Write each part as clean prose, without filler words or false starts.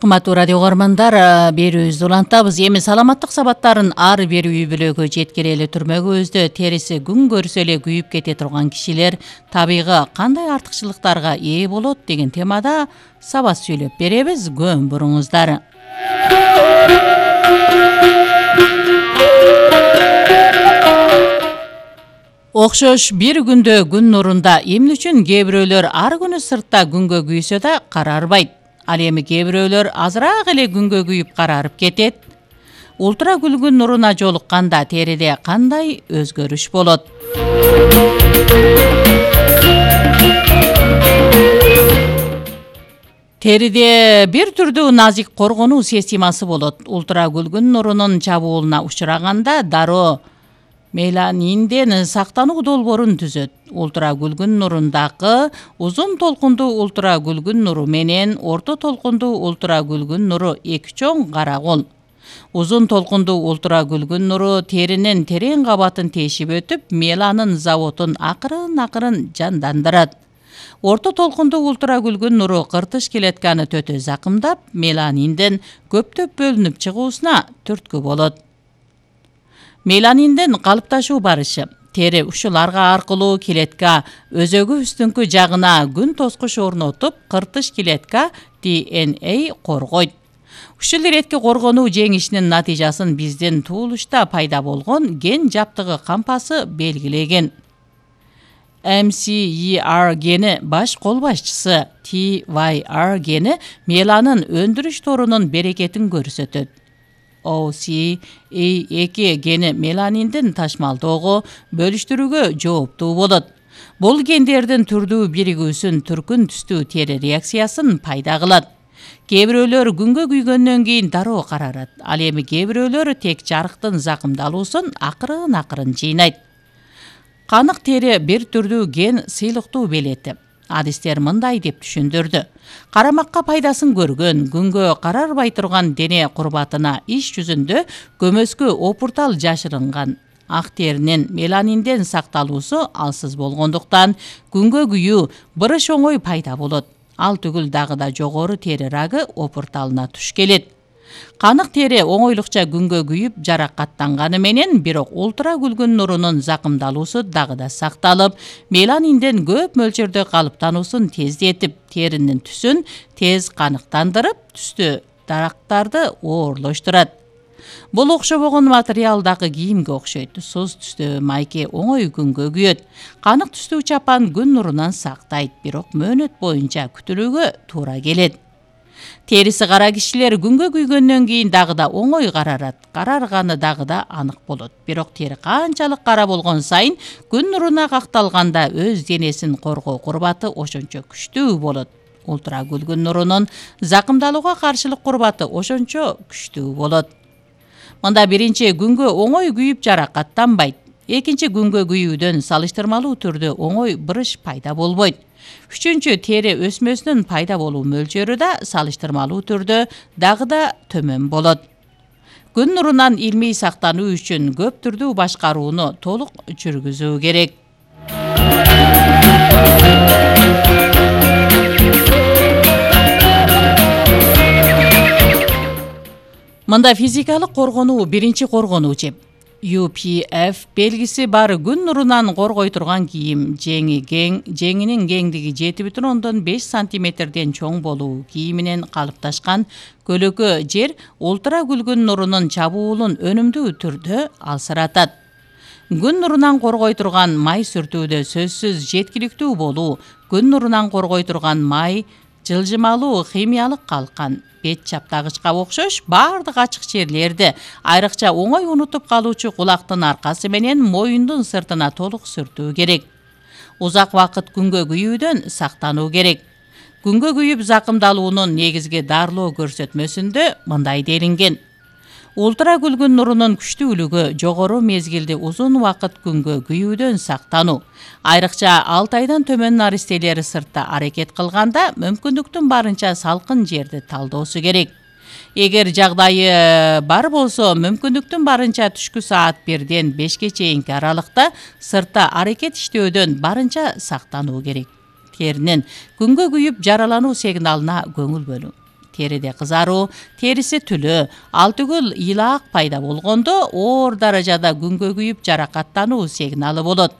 Кымбаттуу радио угармандар, берүүбүздү улантабыз. Эми саламаттык сабаттарын ар бир үй бүлөгө жеткирели түрмөгүбүздө териси күн көрсө эле күйүп кете турган кишилер табигы кандай артыкчылыктарга ээ болот деген темада сабат сүйлөп беребиз. Көң буруңуздар. Окшош бир күндө күн нурунда эмне үчүн кээ бирөөлөр ар күнү сыртта күнгө күйсө да карарбайт. Ал эми кээ бирөөлөр азыраак эле күнгө күйүп карарып кетет. Ультра күлгүн нуруна жолукканда териде кандай өзгөрүш болот? Териде бир түрдүү назик коргонуу системасы болот. Ультра күлгүн нурунун чабуулуна учураганда дароо меланинден сактануу долбоорун түзөт. Ультра күлгүн нурундагы узун толкундуу ультра күлгүн нуру менен орто толкундуу ультра күлгүн нуру эки чоң кара кол. Узун толкундуу ультра күлгүн нуру теринин терең кабатын тешип өтүп, меланин заводун акырын жандандырат. Орто толкундуу ультра күлгүн нуру кыртыш клетканы төтө закымдап, меланинден көптөп бөлүнүп чыгуусуна түрткү болот. Меланинден калыпташуу барышы. Тери ушуларга аркылуу клетка өзөгүбүздүнкү жагына күн тоскуч орнотуп, кыртыш клетка DNA коргойт. Ушул иретки коргонуу жеңишинин натыйжасын биздин туулушта пайда болгон ген жаптыгы кампасы белгилеген. MCER гени баш кол башчысы, TYR гени меланин өндүрүш торунун берекетин көрсөтөт. OCA2 гени меланиндин ташмалдоого бөлүштүрүүгө жооптуу болот. Бул гендердин түрдүү биригүүсүн түркүн түстүү тери реакциясын пайда кылат. Кээ бирөөлөр күнгө күйгөндөн кийин дароо карарат. Ал эми кээ бирөөлөр тек жарыктын закымдалуусун акырын жыйнайт. Канык тери бир түрдүү ген сыйлыктуу белети. Адистер мындай деп түшүндүрдү. Карамакка пайдасын көргөн, күнгө карарбай турган дене курбатына иш жүзүндө көмөскө опуртал жашырынган. Ак теринин меланинден сакталуусу алсыз болгондуктан күнгө күйүү бырыш оңой пайда болот. Ал түгүл дагы да жогору тери рагы опурталына туш келет. Канык тери оңойлукча күнгө күйүп жаракаттанганы менен, бирок ультра күлгүн нурунун закымдалуусу дагы да сакталып, меланинден көп мөлчөрдө калыптануусун тездетип, теринин түсүн тез каныктандырып, түстүү дарактарды оорлоштурат. Бул окшобогон материалдагы кийимге окшойт. Суз түстүү майке оңой күнгө күйөт. Канык түстүү чапан күн нурунан сактайт, бирок мөөнөт боюнча күтүлүүгө туура келет. Териси кара кишилер күнгө күйгөндөн кийин дагы да оңой карарат. Карарганы дагы да анык болот. Бирок тери канчалык кара болгон сайын күн нуруна какталганда өз денесин коргоо курбаты ошончо күчтүү болот. Ультра күлгүн нурунун закымдалууга каршылык курбаты ошончо күчтүү болот. Мында биринчи күнгө оңой күйүп жаракаттанбайт. Экинчи күнгө күйүүдөн салыштырмалуу түрдө оңой бырыш пайда болбойт. Үчүнчү тери өсмөсүнүн пайда болуу мөлчөрү да салыштырмалуу түрдө дагы да төмөн болот. Күн нурунан илмий сактануу үчүн көп түрдүү башкарууну толук жүргүзүү керек. Мында физикалык коргонуу биринчи коргонуу жеп. UPF белгиси бар күн нурунан коргой турган кийим, жеңинин кеңдиги 7,5 сантиметрден чоң болуу, кийиминен калыпташкан көлөкө жер ультра күлгүн нурунун чабуулун өнүмдүү түрдө алсыратат. Күн нурунан коргой турган май сүртүүдө сөзсүз жеткиликтүү болуу, күн нурунан коргой турган май жылжымалуу химиялык калкан, бет чаптагычка окшош бардык ачык жерлерди, айрыкча оңой унутуп калуучу кулактын аркасы менен моюндун сыртына толук сүртүү керек. Узак вакыт күнгө күйүүдөн сактануу керек. Күнгө күйүп закымдалуунун негизги дарылоо көрсөтмөсүндө мындай делинген. Ультра күлгүн нурунун күчтүүлүгү жогору мезгилди узун вакыт күнгө күйүүдөн сактануу. Айрыкча 6 айдан төмөн наристелер сыртта аракет кылганда мүмкүндүктүн барынча салкын жерди талдоосу керек. Эгер жагдайы бар болсо, мүмкүндүктүн барынча түшкү саат 1-ден 5-ке чейинки аралыкта сыртта аракет иштөөдөн барынча сактануу керек. Теринин күнгө күйүп жаралануу сигналына көңүл бөлүң. Териде кызаруу, териси түлөө, ал түгүл ыйлаак пайда болгондо оор даражада күнгө күйүп жаракаттануу сигналы болот.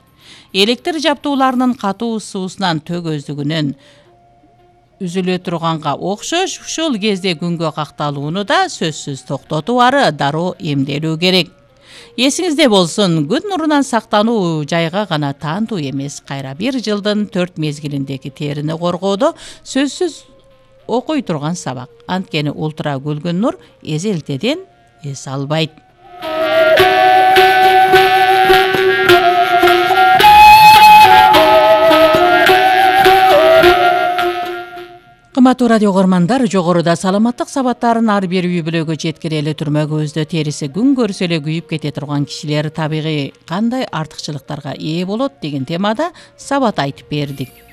Электр жабдууларынын катуу суусунан төгөздүгүнөн үзүлө турганга окшош ушул кезде күнгө какталууну да сөзсүз токтотуп ары дароо эмделүү керек. Эсиңизде болсун, күн нурунан сактануу жайга гана таандуу эмес, кайра бир жылдын 4 мезгилиндеги терини коргоодо сөзсүз окуй турган сабак. Анткени ультра көлгөн нур эзелтеден эс албайт. Кымбаттуу радио көрмандар, жогоруда саламаттык сабаттарын ар бир үй бүлөгө жеткире эле турма көздө териси күн көрсө эле күйүп кете турган кишилер табигый кандай артыкчылыктарга ээ болот деген темада сабат айтып бердик.